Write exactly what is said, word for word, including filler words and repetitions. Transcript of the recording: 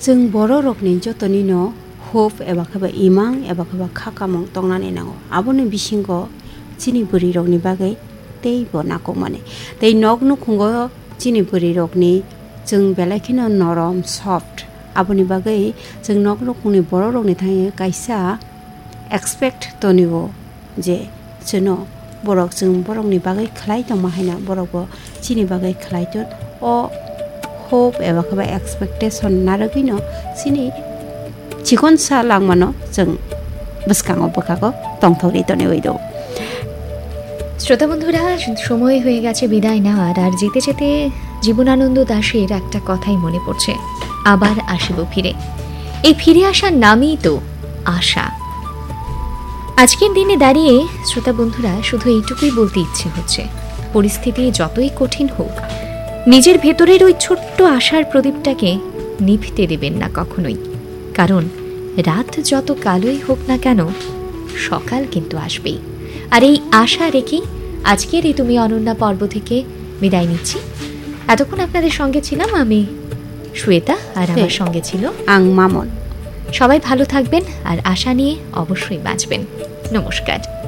Chwng bororokni jotonino hope eba khe ba imang eba khe ba kha kamung tongnani nango. Aboni bisingo chini bwrwirokni bagwi teibo nakukmani. Tei nok nukhungo chini bwrwirokni chwng belai kheno norom, soft. Aboni bagwi chwng nok nukhungni bororokni thangwi kaisa expect tonio je chwno borok chwng borokni bagwi khlai tongma haino borokbo chini bagwi khlai ton. O hope eba khe ba expectation narwgwino chini chikonsa langmano chwng bwskango bwkhago tongthokri toniwi do. শ্রোতা বন্ধুরা, সময় হয়ে গেছে বিদায় নেওয়ার। আর যেতে যেতে জীবনানন্দ দাশের একটা কথাই মনে পড়ছে, "আবার আসিব ফিরে।" এই ফিরে আসার নামই তো আশা। আজকের দিনে দাঁড়িয়ে শ্রোতা বন্ধুরা, শুধু এইটুকুই বলতে ইচ্ছে হচ্ছে, পরিস্থিতি যতই কঠিন হোক, নিজের ভেতরের ওই ছোট্ট আশার প্রদীপটাকে নিভতে দেবেন না কখনোই। কারণ রাত যত কালোই হোক না কেন, সকাল কিন্তু আসবেই। আর এই আশা রেখেই আজকের এই তুমি অনন্যা পর্ব থেকে বিদায় নিচ্ছি। এতক্ষণ আপনাদের সঙ্গে ছিলাম আমি, শ্বেতা, আর আমার সঙ্গে ছিল আং মামন। সবাই ভালো থাকবেন আর আশা নিয়ে অবশ্যই বাঁচবেন। নমস্কার।